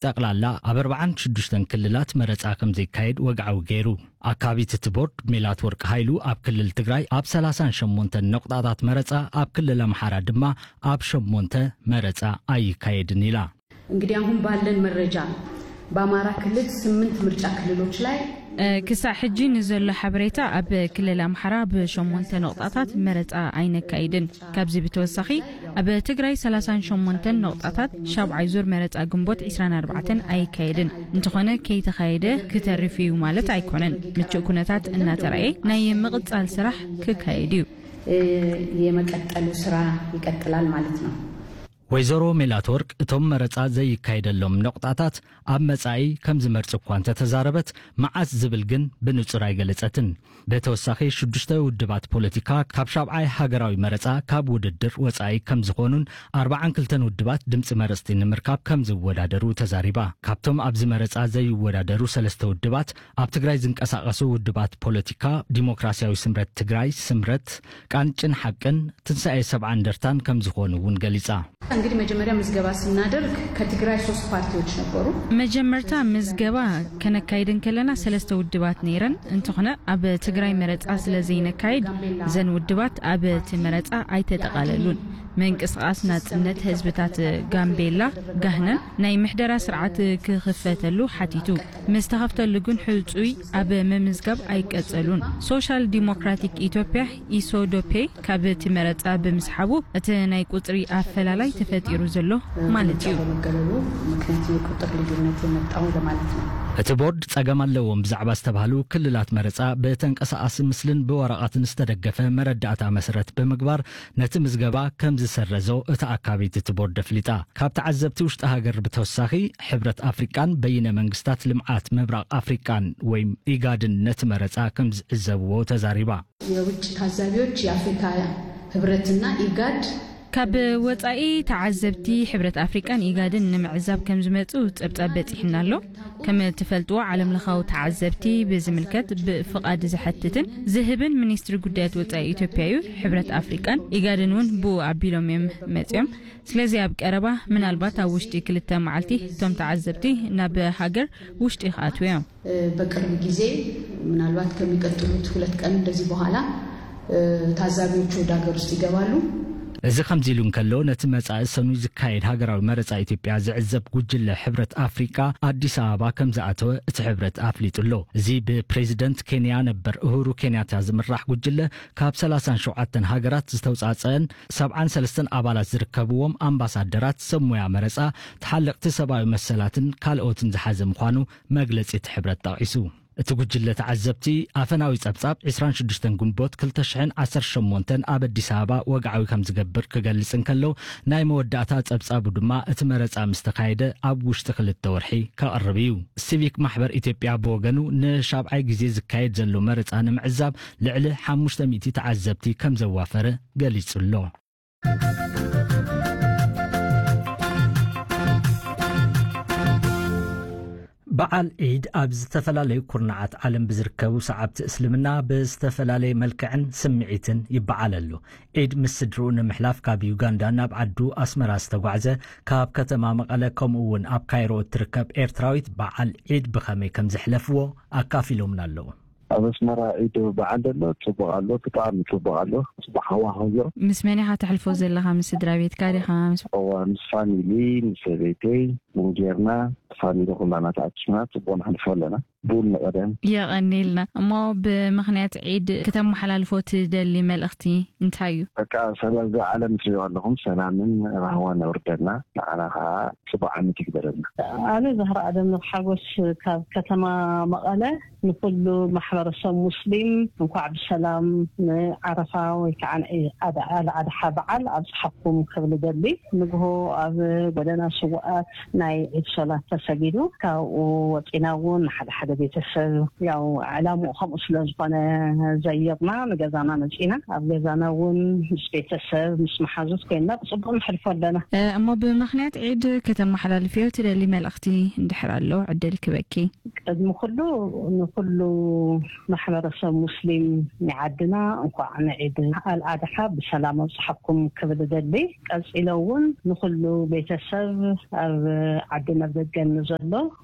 ጠቕላላ ኣብ ኣርባዓን ሽዱሽተን ክልላት መረጻ ከም ዘይካየድ ወግዓዊ ገይሩ። ኣካቢት እቲ ቦርድ ሜላት ወርቅ ሃይሉ ኣብ ክልል ትግራይ ኣብ ሰላሳን ሸሞንተን ነቑጣታት መረጻ፣ ኣብ ክልል ኣምሓራ ድማ ኣብ ሸሞንተ መረጻ ኣይካየድን ኢላ። እንግዲህ አሁን ባለን መረጃ በአማራ ክልል ስምንት ምርጫ ክልሎች ላይ ክሳዕ ሕጂ ንዘሎ ሓበሬታ ኣብ ክልል ኣምሓራ ብሸሞንተ ነቑጣታት መረጻ ኣይነካይድን። ካብዚ ብተወሳኺ ኣብ ትግራይ ሰላሳን ሸሞንተን ነቑጣታት ሻብዓይ ዙር መረጻ ግንቦት ዕስራን ኣርባዕተን ኣይካየድን። እንተኾነ ከይተኻየደ ክተርፍ እዩ ማለት ኣይኮነን። ምቹእ ኩነታት እናተራእየ ናይ ምቕጻል ስራሕ ክካየድ እዩ። የመቀጠሉ ስራ ይቀጥላል ማለት ነው። ወይዘሮ ሜላትወርቅ እቶም መረጻ ዘይካየደሎም ነቑጣታት ኣብ መጻኢ ከም ዝመርጽ እኳ እንተተዛረበት፣ መዓስ ዝብል ግን ብንጹር ኣይገለጸትን። ብተወሳኺ ሽዱሽተ ውድባት ፖለቲካ ካብ ሻብዓይ ሃገራዊ መረጻ ካብ ውድድር ወጻኢ ከም ዝኾኑን ኣርባዓን ክልተን ውድባት ድምጺ መረጽቲ ንምርካብ ከም ዝወዳደሩ ተዛሪባ። ካብቶም ኣብዚ መረጻ ዘይወዳደሩ ሰለስተ ውድባት ኣብ ትግራይ ዝንቀሳቐሱ ውድባት ፖለቲካ ዲሞክራሲያዊ ስምረት ትግራይ፣ ስምረት፣ ቃንጭን ሓቅን፣ ትንሳኤ ሰብዓ እንደርታን ከም ዝኾኑ እውን ገሊጻ። እንግዲህ መጀመሪያ ምዝገባ ስናደርግ ከትግራይ ሶስት ፓርቲዎች ነበሩ። መጀመርታ ምዝገባ ከነካይድ እንከለና ሰለስተ ውድባት ነይረን። እንተኾነ ኣብ ትግራይ መረጻ ስለ ዘይነካይድ እዘን ውድባት ኣብ እቲ መረጻ ኣይተጠቓለሉን። ምንቅስቓስ ናጽነት ህዝብታት ጋምቤላ፣ ጋህነን፣ ናይ ምሕደራ ስርዓት ክኽፈተሉ ሓቲቱ። ምስ ተኸፍተሉ ግን ሕጹይ ኣብ ምምዝጋብ ኣይቀጸሉን። ሶሻል ዲሞክራቲክ ኢትዮጵያ፣ ኢሶዶፔ፣ ካብ እቲ መረጻ ብምስሓቡ እቲ ናይ ቁጽሪ ኣፈላላይ ተፈጢሩ ዘሎ ማለት እዩ። በመገለሉ ምክንያት የቁጥር ልዩነት የመጣው ለማለት ነው። እቲ ቦርድ ጸገም ኣለዎም ብዛዕባ ዝተባህሉ ክልላት መረጻ ብተንቀሳቓሲ ምስልን ብወረቐትን ዝተደገፈ መረዳእታ መሰረት ብምግባር ነቲ ምዝገባ ከም ዝሰረዞ እታ ኣካቢት እቲ ቦርድ ኣፍሊጣ። ካብ ተዓዘብቲ ውሽጢ ሃገር ብተወሳኺ ሕብረት ኣፍሪቃን በይነ መንግስታት ልምዓት ምብራቕ ኣፍሪቃን ወይም ኢጋድን ነቲ መረጻ ከም ዝዕዘብዎ ተዛሪባ። የውጭ ታዛቢዎች የአፍሪካ ህብረትና ኢጋድ ካብ ወጻኢ ተዓዘብቲ ሕብረት ኣፍሪቃን ኢጋድን ንምዕዛብ ከም ዝመጹ ጸብጻብ በጺሕና ኣሎ። ከም እትፈልጥዎ ዓለም ለኻዊ ተዓዘብቲ ብዝምልከት ብፍቓድ ዝሐትትን ዝህብን ሚኒስትሪ ጉዳያት ወጻኢ ኢትዮጵያ እዩ። ሕብረት ኣፍሪቃን ኢጋድን እውን ብኡ ኣቢሎም እዮም መጺኦም። ስለዚ ኣብ ቀረባ ምናልባት ኣብ ውሽጢ ክልተ መዓልቲ እቶም ተዓዘብቲ ናብ ሃገር ውሽጢ ክኣትዉ እዮም። በቅርብ ጊዜ ምናልባት ከሚቀጥሉት ሁለት ቀን እንደዚህ በኋላ ታዛቢዎቹ ወደ ሀገር ውስጥ ይገባሉ። እዚ ከምዚ ኢሉ እንከሎ፣ ነቲ መጻኢ ሰኑይ ዝካየድ ሃገራዊ መረጻ ኢትዮጵያ ዝዕዘብ ጉጅለ ሕብረት ኣፍሪቃ ኣዲስ ኣበባ ከም ዝኣተወ እቲ ሕብረት ኣፍሊጡ ኣሎ። እዚ ብፕሬዚደንት ኬንያ ነበር እሁሩ ኬንያታ ዝምራሕ ጉጅለ ካብ ሰላሳን ሸውዓተን ሃገራት ዝተውጻጸአን ሰብዓን ሰለስተን ኣባላት ዝርከብዎም ኣምባሳደራት፣ ሰብ ሞያ መረጻ፣ ተሓለቕቲ ሰብኣዊ መሰላትን ካልኦትን ዝሓዘ ምዃኑ መግለጺ እቲ ሕብረት ጠቒሱ። እቲ ጉጅለ ተዓዘብቲ ኣፈናዊ ጸብጻብ ዕስራን ሽዱሽተን ግንቦት ክልተ ሽሕን ዓሰርተ ሸሞንተን ኣብ ኣዲስ ኣበባ ወግዓዊ ከም ዝገብር ክገልጽ እንከሎ፣ ናይ መወዳእታ ጸብጻቡ ድማ እቲ መረጻ ምስ ተኻየደ ኣብ ውሽጢ ክልተ ወርሒ ከቕርብ እዩ። ሲቪክ ማሕበር ኢትዮጵያ ብወገኑ ንሻብዓይ ግዜ ዝካየድ ዘሎ መረጻ ንምዕዛብ ልዕሊ ሓሙሽተ ሚእቲ ተዓዘብቲ ከም ዘዋፈረ ገሊጹ ኣሎ። በዓል ዒድ ኣብ ዝተፈላለዩ ኩርናዓት ዓለም ብዝርከቡ ሰዓብቲ እስልምና ብዝተፈላለየ መልክዕን ስምዒትን ይበዓል ኣሎ። ዒድ ምስ ስድርኡ ንምሕላፍ ካብ ዩጋንዳ ናብ ዓዱ ኣስመራ ዝተጓዕዘ፣ ካብ ከተማ መቐለ ከምኡ እውን ኣብ ካይሮ እትርከብ ኤርትራዊት በዓል ዒድ ብኸመይ ከም ዘሕለፍዎ ኣካፊሎምና ኣለዉ። ኣብ ኣስመራ ዒድ በዓል ዘሎ ጽቡቕ ኣሎ፣ ብጣዕሚ ጽቡቕ ኣሎ። ጽቡቕ ሃዋህው ኣሎ። ምስ መን ኢኻ ተሕልፎ ዘለኻ? ምስ ስድራ ቤትካ ዲኻ? ምስ እዋ ምስ ፋሚሊ፣ ምስ ሰበይተይ ቡን ጌርና፣ ፋሚሊ ኩላና ተኣኪብና ጽቡቕ ነሕልፎ ኣለና። ቡን ንቐደም። የቐንየልና። እሞ ብምኽንያት ዒድ ከተመሓላልፎ ትደሊ መልእኽቲ እንታይ እዩ? በቃ ሰላም ዓለም ትሪኦ ኣለኹም፣ ሰላምን ራህዋን ኣውርደልና፣ ንዓና ከዓ ጽቡቕ ዓመት ይግበረልና። ኣነ ዛህራ ኣደም ንሓጎስ ካብ ከተማ መቐለ ንኩሉ ማሕበረሰብ ሙስሊም እንኳዕ ብሰላም ንዓረፋ ወይ ከዓ ንዒድ ኣል ኣድሓ በዓል ኣብፅሓኩም ክብል እደሊ። ንግሆ ኣብ ጎደና ስውኣት ናይ ዒድ ሶላት ተሰጊዱ፣ ካብኡ ወፂና እውን ንሓደ ሓደ ቤተሰብ ያው ዕላምኡ ከምኡ ስለ ዝኾነ ዘይርና ንገዛና መፂና። ኣብ ገዛና እውን ምስ ቤተሰብ ምስ መሓዙት ኮይንና ብፅቡቅ ነሕልፎ ኣለና። እሞ ብምኽንያት ዒድ ከተመሓላልፍዮ ትደሊ መልእኽቲ እንድሕር ኣሎ ዕድል ክበኪ። ቅድሚ ኩሉ ንኩሉ ማሕበረሰብ ሙስሊም ናይ ዓድና እንኳዕ ንዒድ ኣልኣድሓ ብሰላም ኣብፅሓኩም ክብል እደሊ። ቀፂለ እውን ንኩሉ ቤተሰብ ኣብ ዓዲ ናብ ደገ ንዘሎ።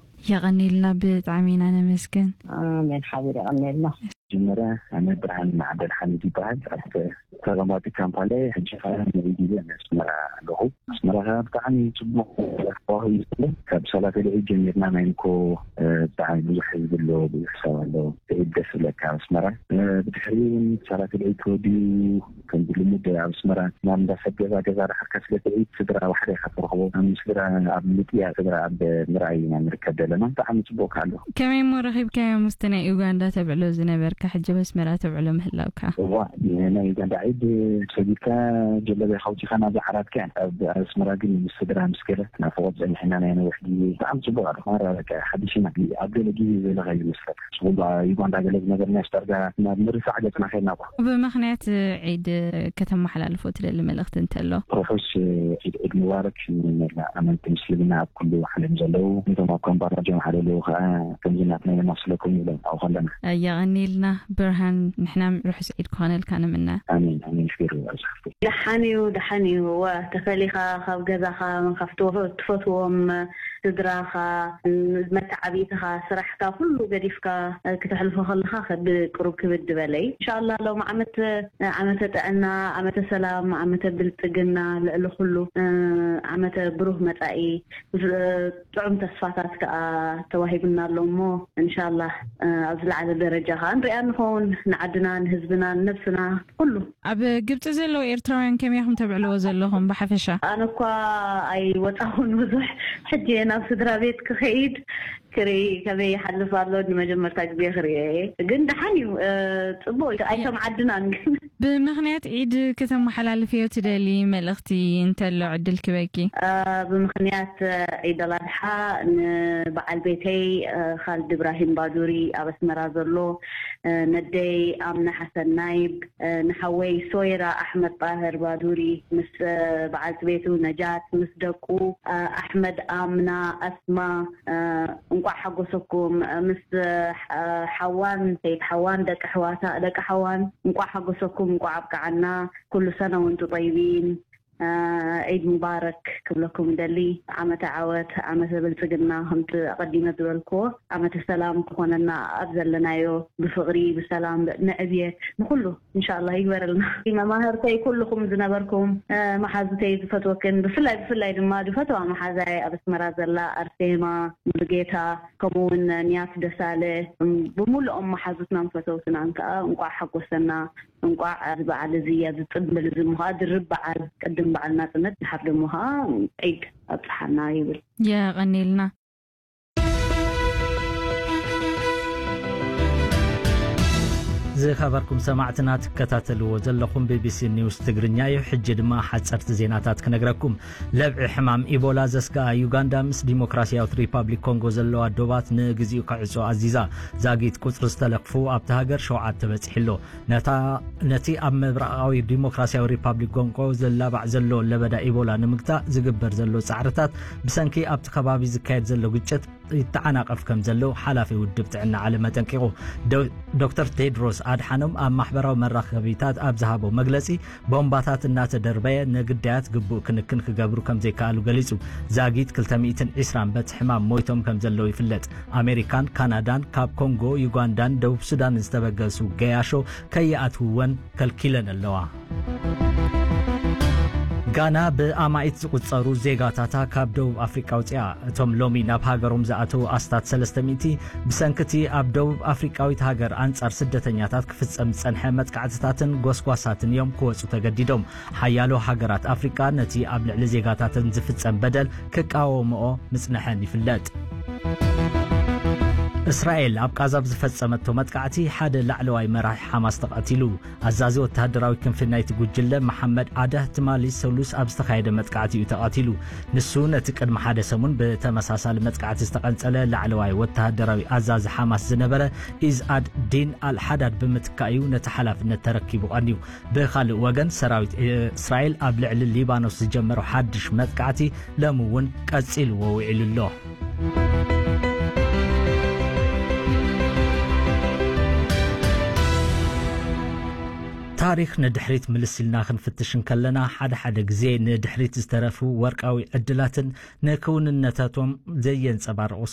የቐኒልና፣ ብጣዕሚ ኢና ነመስግን። ኣሜን ሓቢር፣ የቐኒልና። መጀመርያ ኣነ ብርሃን ማዕበል ሓሚድ ይበሃል። ኣብ ተቐማጢ ካምፓላ ሕጂ ኸዓ ንዒድ ኢለ ኣስመራ ኣለኹ። ኣስመራ ኸዓ ብጣዕሚ ጽቡቕ ሃዋህው እዩ ዘሎ። ካብ ሰላት ልዒድ ጀሚርና ናይ እንኮ ብጣዕሚ ብዙሕ ህዝቢ ኣሎ፣ ብዙሕ ሰብ ኣሎ። ልዒድ ደስ ይብለካ ኣብ ኣስመራ። ብድሕሪኡ እውን ሰላት ልዒድ ተወዲኡ ከምዚ ልሙድ ኣብ ኣስመራ ናብ እንዳ ሰብ ገዛ ገዛ ድሓር ከስለ ትርኢት ስድራ ዋሕደ ኢኻ ትረኽቦ። ኣብ ስድራ ኣብ ምጥያ ስድራ ኣብ ምርኣይ ኢና ንርከብ ዘለና። ብጣዕሚ ጽቡቕ ኣሎ። ከመይ እሞ ረኺብካዮ ምስቲ ናይ ኡጋንዳ ተብዕሎ ዝነበርካ ሕጂ ኣብ ኣስመራ ተብዕሎ ምህላውካ? እዋ፣ ናይ ኡጋንዳ ዒድ ሰጊድካ ጀለቢያ ከውጺኻ ናብዛ ዓራትካ እያ። ኣብ ኣስመራ ግን ምስ ስድራ ምስ ገለ ናፍቖት ጸኒሕና ናይ ነዊሕ ግዜ። ብጣዕሚ ጽቡቕ ኣሎ። ማራ በቃ ሓዲሽ ኢና። ኣብ ገለ ግዜ ዘለኻ ይመስለካ። ጽቡቕ ዩጋንዳ ገለ ዝነበርና ዳርጋ ናብ ምርሳዕ ገጽና ኸድና እኮ። ብምኽንያት ዒድ ከተመሓላልፎ ትደሊ መልእኽቲ እንተሎ? ርሑስ ዒድ፣ ዒድ ሙባረክ ንመላእ ኣመንቲ ምስልምና ኣብ ኩሉ ዓለም ዘለዉ። ነቶም ኣብ ካምፓላ ጀምሓ ዘለዉ ኸዓ ከምዚ ናትና የማስለኩም ንብሎም ኣብኡ ከለና። የቐኒልና ብርሃን፣ ንሕና ርሑስ ዒድ ክኾነልካ ንምነ። ኣሜን፣ ኣሜን። ክቢሩ ኣብዝሓፍቱ። ደሓን እዩ፣ ደሓን እዩ። እወ፣ ተፈሊኻ ካብ ገዛኻ፣ ካብቲ ትፈትዎም ስድራኻ፣ መተዓብይትኻ፣ ስራሕካ ኩሉ ገዲፍካ ክተሕልፎ ከለኻ ከ-፣ ብቅሩብ ክብድ በለይ። ኢንሻኣላህ ሎም ዓመት ዓመተ ጥዕና፣ ዓመተ ሰላም፣ ዓመተ ብልጽግና፣ ልዕሊ ኩሉ ዓመተ ብሩህ መጻኢ፣ ጥዑም ተስፋታት ከኣ ተዋሂቡና ኣሎ እሞ፣ ኢንሻኣላህ ኣብ ዝለዓለ ደረጃ ከኣ ንሪኣ ንኸውን፣ ንዓድና፣ ንህዝብና፣ ንነብስና፣ ኩሉ። ኣብ ግብጺ ዘለዉ ኤርትራውያን ከመይ ኢኹም ተብዕልዎ ዘለኹም ብሓፈሻ? ኣነ እኳ ኣይወጻኹን ብዙሕ፣ ሕጂ እየ ናብ ስድራ ቤት ክኸይድ፣ ክርኢ ከመይ ይሓልፍ ኣሎ፣ ንመጀመርታ ግዜ ክርእዮ እየ። ግን ደሓን እዩ፣ እ፣ ጽቡቕ እዩ። ኣይሰምዓድናን ግን። ብምኽንያት ዒድ ከተመሓላልፍዮ ትደሊ መልእኽቲ እንተሎ ዕድል ክበኪ? እ፣ ብምኽንያት፣ እ፣ ዒድ ኣልኣድሓ ንበዓል ቤተይ፣ እ፣ ኻልድ ኢብራሂም ባዱሪ ኣብ ኣስመራ ዘሎ፣ እ፣ ነደይ ኣምነ ሓሰን ናይብ፣ እ፣ ንሓወይ ሶይራ ኣሕመድ ጣህር ባዱሪ ምስ፣ እ፣ በዓልቲ ቤቱ ነጃት፣ ምስ ደቁ፣ እ፣ ኣሕመድ፣ ኣምና፣ ኣስማ፣ እ፣ እንቋዕ ሓጎሰኩም፣ እ፣ ምስ፣ እ፣ ሓዋን፣ ሰይድ ሓዋን፣ ደቂ ኣሕዋታ፣ ደቂ ሓዋን፣ እንቋዕ ሓጎሰኩም፣ እንቋዕ ኣብቅዓና። ኩሉ ሰነ ወንቱ ጠይቢን። እ፣ ዒድ ሙባረክ ክብለኩም ይደሊ። ዓመተ ዓወት፣ ዓመተ ብልጽግና፣ ከምቲ ኣቐዲመ ዝበልክዎ፣ ዓመተ ሰላም ክኾነና፣ ኣብ ዘለናዮ ብፍቕሪ፣ ብሰላም፣ ንዕብየት፣ ንኹሉ ኢንሻኣላህ ይግበረልና። መማህርተይ ኩልኹም ዝነበርኩም፣ እ፣ መሓዙተይ ዝፈትወክን፣ ብፍላይ፣ ብፍላይ ድማ ዝፈትዋ መሓዛይ ኣብ ኣስመራ ዘላ ኣርሴማ ሙሉጌታ፣ ከምኡ እውን ንያት ደሳለ፣ እም፣ ብምሉኦም መሓዙትናን ፈተውትናን ከኣ እንቋዕ ሓጎሰና፣ እንቋዕ እዚ በዓል እዚ፣ እዚ ጽምብል እዚ እሞ ከኣ ድርብ በዓል፣ ቅድም በዓል ናጽነት፣ ድሓር ደሞ ከኣ ዒድ ኣብጽሓና ይብል። የቐኔልና። ዝኸበርኩም ሰማዕትና፣ ትከታተልዎ ዘለኹም ቢ ቢ ሲ ኒውስ ትግርኛ እዩ። ሕጂ ድማ ሓጸርቲ ዜናታት ክነግረኩም። ለብዒ ሕማም ኢቦላ ዘስግኣ ዩጋንዳ ምስ ዲሞክራሲያዊት ሪፓብሊክ ኮንጎ ዘለዋ ዶባት ንግዚኡ ክዕጾ ኣዚዛ። ዛጊት ቁጽሪ ዝተለኽፉ ኣብቲ ሃገር ሸውዓተ በጺሑ ኣሎ። ነታ፣ ነቲ ኣብ ምብራቓዊ ዲሞክራሲያዊ ሪፓብሊክ ኮንጎ ዝላባዕ ዘሎ ለበዳ ኢቦላ ንምግታእ ዝግበር ዘሎ ጻዕርታት ብሰንኪ ኣብቲ ከባቢ ዝካየድ ዘሎ ግጭት ይተዓናቐፍ ከም ዘሎ ሓላፊ ውድብ ጥዕና ዓለም ኣጠንቂቑ። ዶ-፣ ዶክተር ቴድሮስ ኣድሓኖም ኣብ ማሕበራዊ መራኸቢታት ኣብ ዝሃቦ መግለጺ፣ ቦምባታት እናተደርበየ ንግዳያት ግቡእ ክንክን ክገብሩ ከም ዘይከኣሉ ገሊጹ። ዛጊት ክልተ ሚእትን ዕስራን በቲ ሕማም ሞይቶም ከም ዘለዉ ይፍለጥ። ኣሜሪካን ካናዳን ካብ ኮንጎ፣ ዩጋንዳን ደቡብ ሱዳንን ዝተበገሱ ገያሾ ከይኣትውወን ከልኪለን ኣለዋ። ጋና ብኣማኢት ዝቑጸሩ ዜጋታታ ካብ ደቡብ ኣፍሪቃ ኣውጺኣ። እቶም ሎሚ ናብ ሃገሮም ዝኣተዉ ኣስታት ሰለስተ ሚእቲ ብሰንኪ እቲ ኣብ ደቡብ ኣፍሪቃዊት ሃገር ኣንጻር ስደተኛታት ክፍጸም ዝጸንሐ መጥቃዕትታትን ጎስጓሳትን እዮም ክወጹ ተገዲዶም። ሓያሎ ሃገራት ኣፍሪቃ ነቲ ኣብ ልዕሊ ዜጋታተን ዝፍጸም በደል ክቃወምኦ ምጽንሐን ይፍለጥ። እስራኤል ኣብ ቃዛ ብዝፈጸመቶ መጥቃዕቲ ሓደ ላዕለዋይ መራሒ ሓማስ ተቐቲሉ። ኣዛዚ ወተሃደራዊ ክንፊ ናይቲ ጉጅለ መሓመድ ዓዳህ ትማሊ ሰሉስ ኣብ ዝተኻየደ መጥቃዕቲ እዩ ተቐቲሉ። ንሱ ነቲ ቅድሚ ሓደ ሰሙን ብተመሳሳሊ መጥቃዕቲ ዝተቐንጸለ ላዕለዋይ ወተሃደራዊ ኣዛዚ ሓማስ ዝነበረ ኢዝኣድ ዲን ኣልሓዳድ ብምትካእ እዩ ነቲ ሓላፍነት ተረኪቡ ቀንዩ። ብኻልእ ወገን፣ ሰራዊት እስራኤል ኣብ ልዕሊ ሊባኖስ ዝጀመሮ ሓድሽ መጥቃዕቲ ሎሚ እውን ቀጺልዎ ውዒሉ ኣሎ። ታሪኽ ንድሕሪት ምልስ ኢልና ክንፍትሽ እንከለና፣ ሓደ ሓደ ግዜ ንድሕሪት ዝተረፉ ወርቃዊ ዕድላትን ንክውንነታቶም ዘየንጸባርቑ